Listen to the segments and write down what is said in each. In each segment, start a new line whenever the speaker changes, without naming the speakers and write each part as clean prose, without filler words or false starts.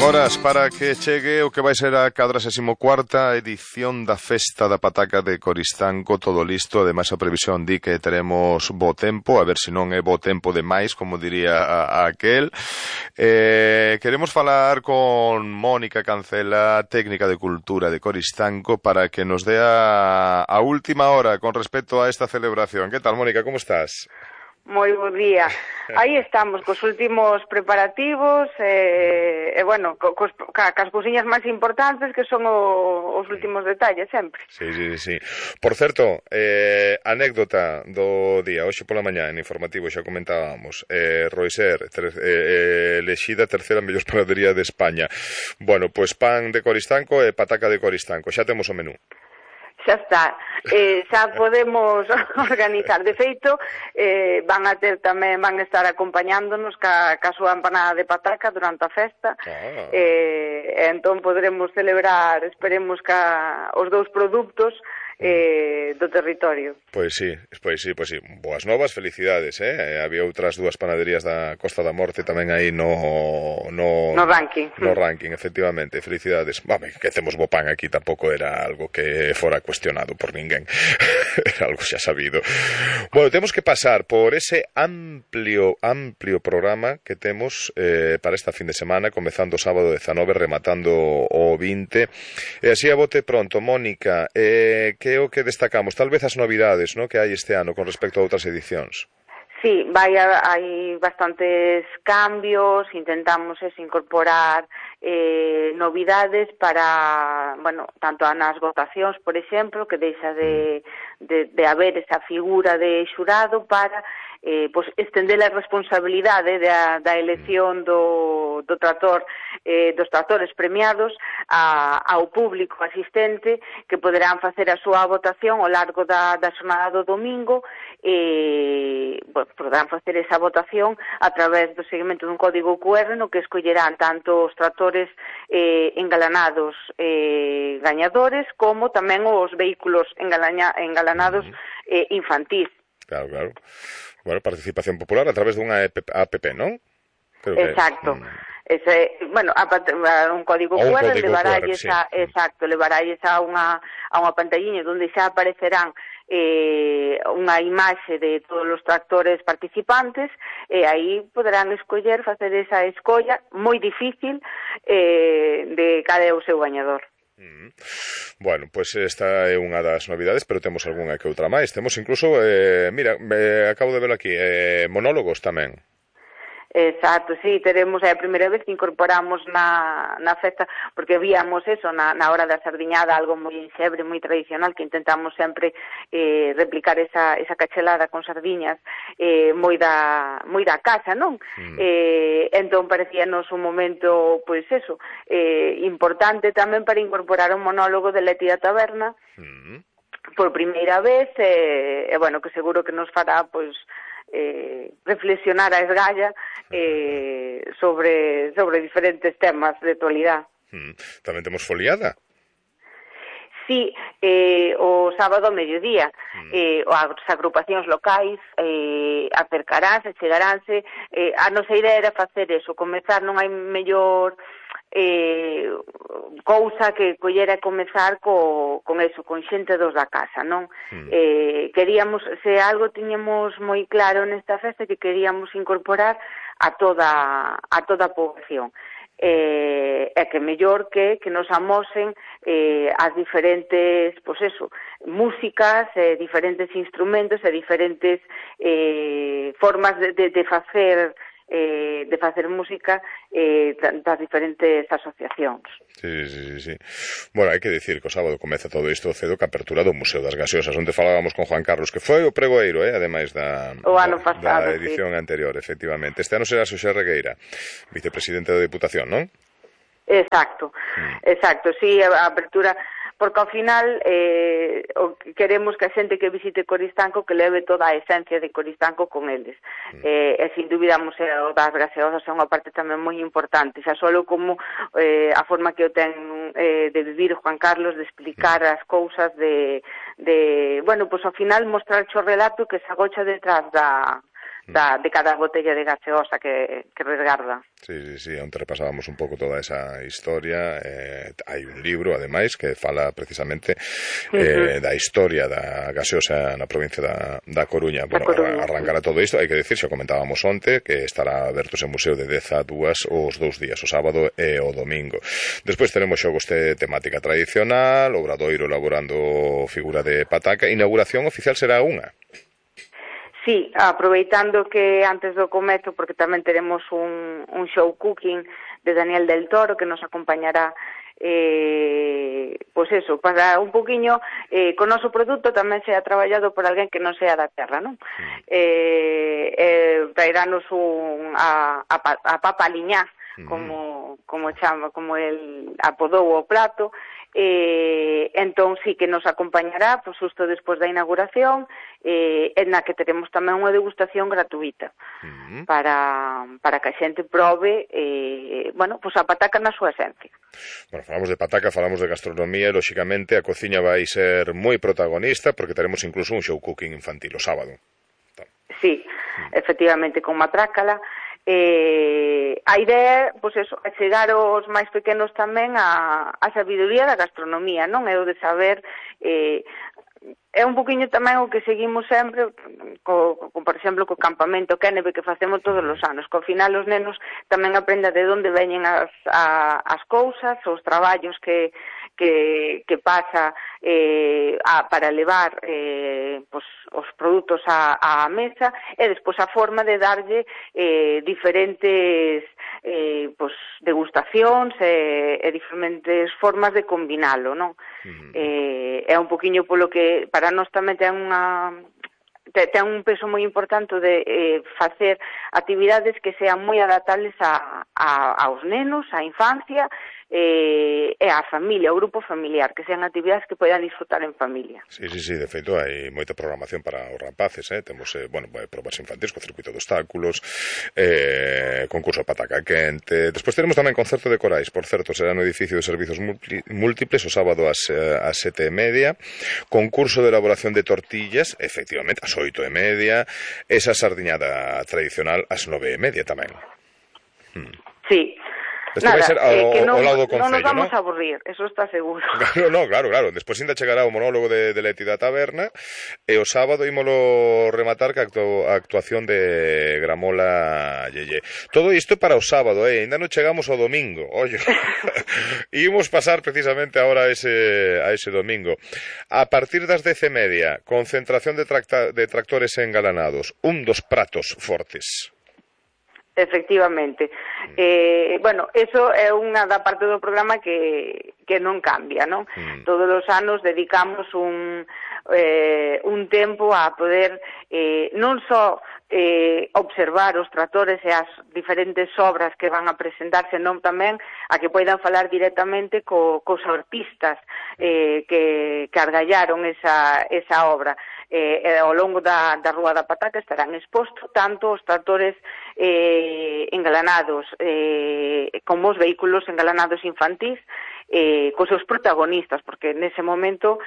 Horas para que chegue o que vai ser a 44ª edición da Festa da Pataca de Coristanco, todo listo. Ademais, a previsión di que teremos bo tempo, a ver se non é bo tempo demais, como diría aquel. Queremos falar con Mónica Cancela, técnica de cultura de Coristanco, para que nos dea a última hora con respecto a esta celebración. Que tal, Mónica, como estás?
Moi bo día. Aí estamos cos últimos preparativos bueno, cas cousiñas máis importantes que son os últimos detalles sempre.
Sí. Por certo, anécdota do día, hoxe pola mañá en informativo xa comentábamos, Roiser elexida terceira mellor panadería de España. Bueno, pois pan de Coristanco e pataca de Coristanco, xa temos o menú.
Xa está, xa podemos organizar. De feito, van estar acompañándonos ca súa empanada de pataca durante a festa. Entón poderemos celebrar, esperemos, os dous produtos do territorio.
Pois sí. Boas novas, felicidades, había outras dúas panaderías da Costa da Morte tamén aí no
ranking.
No ranking, efectivamente, felicidades. Vame, que temos bo pan aquí, tampouco era algo que fora cuestionado por ninguén. Era algo xa sabido. Bueno, temos que pasar por ese amplio programa que temos para esta fin de semana, comezando o sábado 19, rematando o 20. E así a bote pronto, Mónica, que é o que destacamos? Tal vez as novidades, ¿no?, que hai este ano con respecto a outras edicións.
Sí, hai bastantes cambios, intentamos incorporar novidades para, bueno, tanto nas votacións, por exemplo, que deixa de haber esa figura de xurado para estender a responsabilidade da elección dos tratores premiados ao público asistente, que poderán facer a súa votación ao largo da xornada do domingo. Poderán facer esa votación a través do seguimento dun código QR no que escollerán tanto os tratores engalanados gañadores como tamén os vehículos engalanados infantís.
Claro. Bueno, participación popular a través dunha app, non?
Exacto. Un código QR levaralles a unha pantalliña onde xa aparecerán unha imaxe de todos os tractores participantes, e aí poderán escoller, facer esa escolla moi difícil de cal é o seu gañador.
Bueno, pois esta é unha das novidades, pero temos algunha que outra máis. Temos incluso, acabo de ver aquí, monólogos tamén.
Exacto, sí, teremos a primeira vez que incorporamos na festa, porque víamos eso na hora da sardiñada, algo moi enxebre, moi tradicional, que intentamos sempre replicar esa cachelada con sardiñas moi da casa, non? Entón parecíanos un momento, pois eso, importante tamén para incorporar un monólogo de Leti da Taberna por primeira vez, bueno, que seguro que nos fará, pois, reflexionar a esgalla sobre diferentes temas de actualidade.
Tamén temos foliada?
Sí, o sábado ao mediodía as agrupacións locais chegaránse. A nosa idea era facer eso, comezar, non hai mellor cousa que collera comezar con eso, con xente dos da casa, non? Queríamos, se algo tiñamos moi claro nesta festa, que queríamos incorporar a toda a poboación. E que mellor que nos amosen as diferentes, pois eso, músicas, diferentes instrumentos e diferentes formas de facer música das diferentes asociacións.
Sí. Bueno, hai que dicir que o sábado comeza todo isto cedo, que apertura do Museo das Gaseosas, onde falábamos con Juan Carlos, que foi o pregoeiro, ademais da edición anterior, efectivamente. Este ano será Xosé Regueira, vicepresidente da Deputación, non?
Exacto, sí, a apertura, porque ao final queremos que a xente que visite Coristanco que leve toda a esencia de Coristanco con eles, e sin dúbida o Museo das Gaseosas é unha parte tamén moi importante, xa solo como a forma que o ten de vivir Juan Carlos, de explicar as cousas, bueno, pois ao final mostrar o relato que se agocha detrás de cada botella de gaseosa que resgarda.
Sí, onte repasábamos un pouco toda esa historia. Hai un libro, ademais, que fala precisamente da historia da gaseosa na provincia da Coruña. Bueno, arrancar a todo isto, hai que decir, xa comentábamos onte, que estará aberto ese museo de 10 a 2 os 2 días, o sábado e o domingo. Despois teremos xogos de temática tradicional, Obradoiro elaborando figura de pataca, inauguración oficial será unha.
Sí, aproveitando que antes do comezo, porque tamén teremos un show cooking de Daniel del Toro que nos acompañará pois eso, para un poquinho con o noso produto tamén sea traballado por alguén que non sea da terra, non? Traerános a papa liñá, como el apodou o plato, entón sí que nos acompañará pois xusto despois da inauguración, en na que teremos tamén unha degustación gratuita para que a xente prove pois a pataca na súa esencia.
Bueno, falamos de pataca, falamos de gastronomía e, lóxicamente, a cociña vai ser moi protagonista porque teremos incluso un show cooking infantil o sábado.
Sí, efectivamente, con matrácala. A idea, pois eso, é chegar aos máis pequenos tamén a sabiduría da gastronomía, non? É o de saber, é un poquinho tamén o que seguimos sempre, por exemplo, co campamento Kennebe que facemos todos os anos, que ao final os nenos tamén aprenden de onde veñen as cousas, os traballos que pasa para levar os produtos á mesa e despois a forma de darlle diferentes degustacións e diferentes formas de combinalo, non? É un poquinho polo que para nós tamén ten un peso moi importante de facer actividades que sean moi adaptables aos nenos, á infancia e á familia, ao grupo familiar, que sean actividades que poidan disfrutar en familia.
Sí, de feito hai moita programación para os rapaces, temos, probas infantis co circuito de obstáculos, concurso de pataca quente, despois teremos tamén concerto de corais, por certo, será no edificio de servizos múltiples o sábado ás 7:30, concurso de elaboración de tortillas, efectivamente, ás 8:30, esa sardiñada tradicional ás 9:30 tamén.
Sí.
Este vai ser ao lado do Concello,
non nos vamos a aburrir, eso está seguro.
Claro. Despois ainda chegará o monólogo de Leti da Taberna e o sábado ímolo rematar ca actuación de Gramola Yeye. Todo isto para o sábado, ainda non chegamos ao domingo, ollo. Imos pasar precisamente agora a ese domingo. A partir das 10:30, concentración de tractores engalanados, un dos pratos fortes.
Efectivamente. Eso é unha da parte do programa que non cambia, non? Todos os anos dedicamos un tempo a poder non só observar os tractores e as diferentes obras que van a presentar, senón tamén a que poidan falar directamente cos artistas que argallaron esa obra. Ao longo da Rúa da Pataca estarán expostos tanto os tractores engalanados como os vehículos engalanados infantís cos seus protagonistas, porque nese momento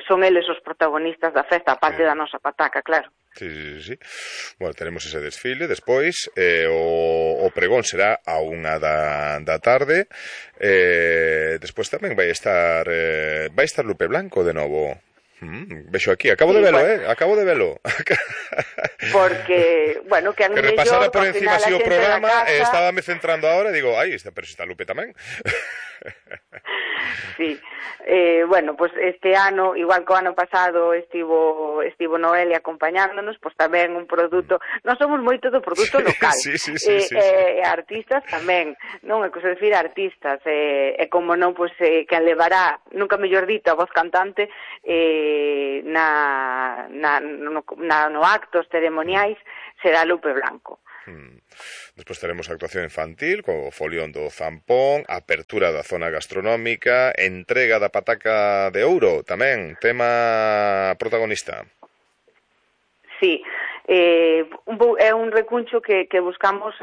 son eles os protagonistas da festa, a parte da nosa pataca, claro.
Sí. Bueno, tenemos ese desfile, despois o pregón será a 1 da tarde, despois tamén vai estar Lupe Blanco de novo. Vexo aquí, acabo de velo.
Porque, que
que repasara por encima así o programa, estábame centrando ahora e digo, pero se está Lupe tamén.
Sí, pues este ano, igual que o ano pasado estivo Noelia acompañándonos, pues tamén un produto, non somos moito do produto local,
sí.
artistas tamén, non é cosa de decir artistas, e como non, pues quen levará, nunca mellor dito, a voz cantante no actos ceremoniais será Lupe Blanco.
Despois teremos actuación infantil co folión do Zampón, apertura da zona gastronómica, entrega da pataca de ouro tamén, tema protagonista.
Sí, é un recuncho que buscamos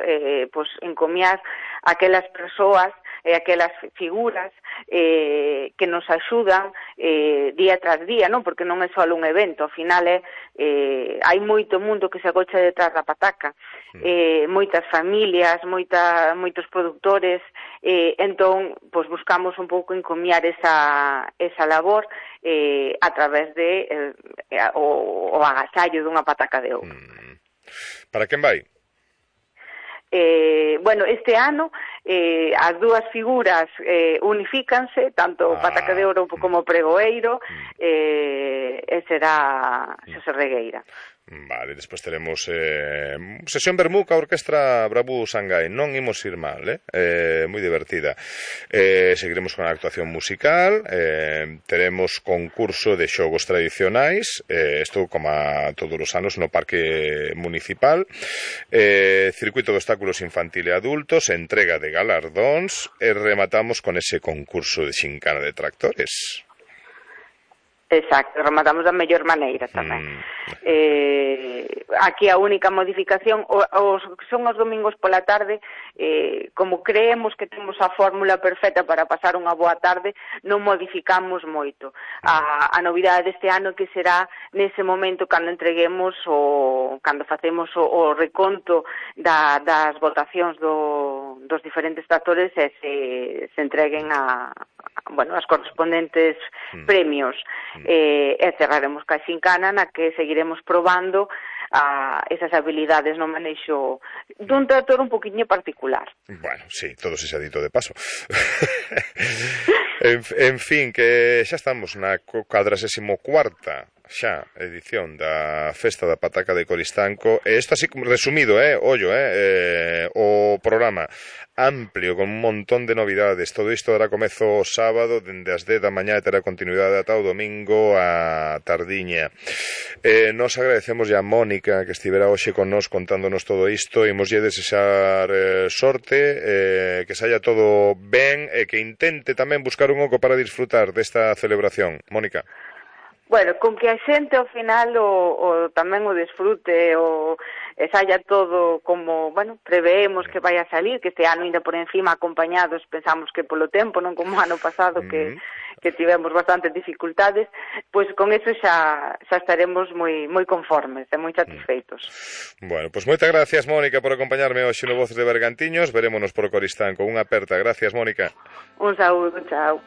encomiar aquelas persoas aquelas figuras que nos axudan día tras día, non? Porque non é só un evento, ao final hai moito mundo que se agocha detrás da pataca, moitas familias, moitos produtores, entón, pois buscamos un pouco encomiar esa labor a través de o agasallo dunha pataca de ouro.
Para quen vai?
Bueno, este ano as dúas figuras unifícanse, tanto pataca de ouro como pregoeiro, e será Xosé Regueira.
Vale, despois teremos sesión Bermú ca Orquestra Bravú Sangai. Non imos ir mal, moi divertida. Seguiremos con a actuación musical, teremos concurso de xogos tradicionais, isto como a todos os anos no Parque Municipal, circuito de obstáculos infantil e adultos, entrega de galardóns e rematamos con ese concurso de xincana de tractores.
Exacto, rematamos da mellor maneira tamén. Aquí a única modificación son os domingos pola tarde, como creemos que temos a fórmula perfecta para pasar unha boa tarde, non modificamos moito. A novidade deste ano que será nese momento cando entreguemos cando facemos o reconto das votacións dos diferentes tractores e se entreguen as correspondentes premios. E cerraremos ca xincana na que seguiremos probando esas habilidades no manexo dun tractor un poquinho particular.
Bueno, sí, todo se ha dito de paso. en fin, que xa estamos na 44ª xa edición da Festa da Pataca de Coristanco, e isto así resumido, o programa amplio, con un montón de novidades. Todo isto dará comezo o sábado, dende as 10 da mañá, e terá continuidade ata o domingo a tardiña. Nos agradecemos a Mónica que estivera hoxe con nós contándonos todo isto, e imoslle desexar sorte, que saia todo ben, e que intente tamén buscar un oco para disfrutar desta celebración. Mónica.
Bueno, con que a xente ao final tamén o desfrute e saia todo como, preveemos que vai a salir, que este ano ainda por encima acompañados, pensamos que polo tempo, non como o ano pasado que tivemos bastantes dificultades, pois con eso xa estaremos moi conformes e moi satisfeitos.
Bueno, pois moitas gracias, Mónica, por acompañarme hoxe no Voces de Bergantiños. Verémonos por Coristanco. Unha aperta. Gracias, Mónica.
Un saúdo, chao.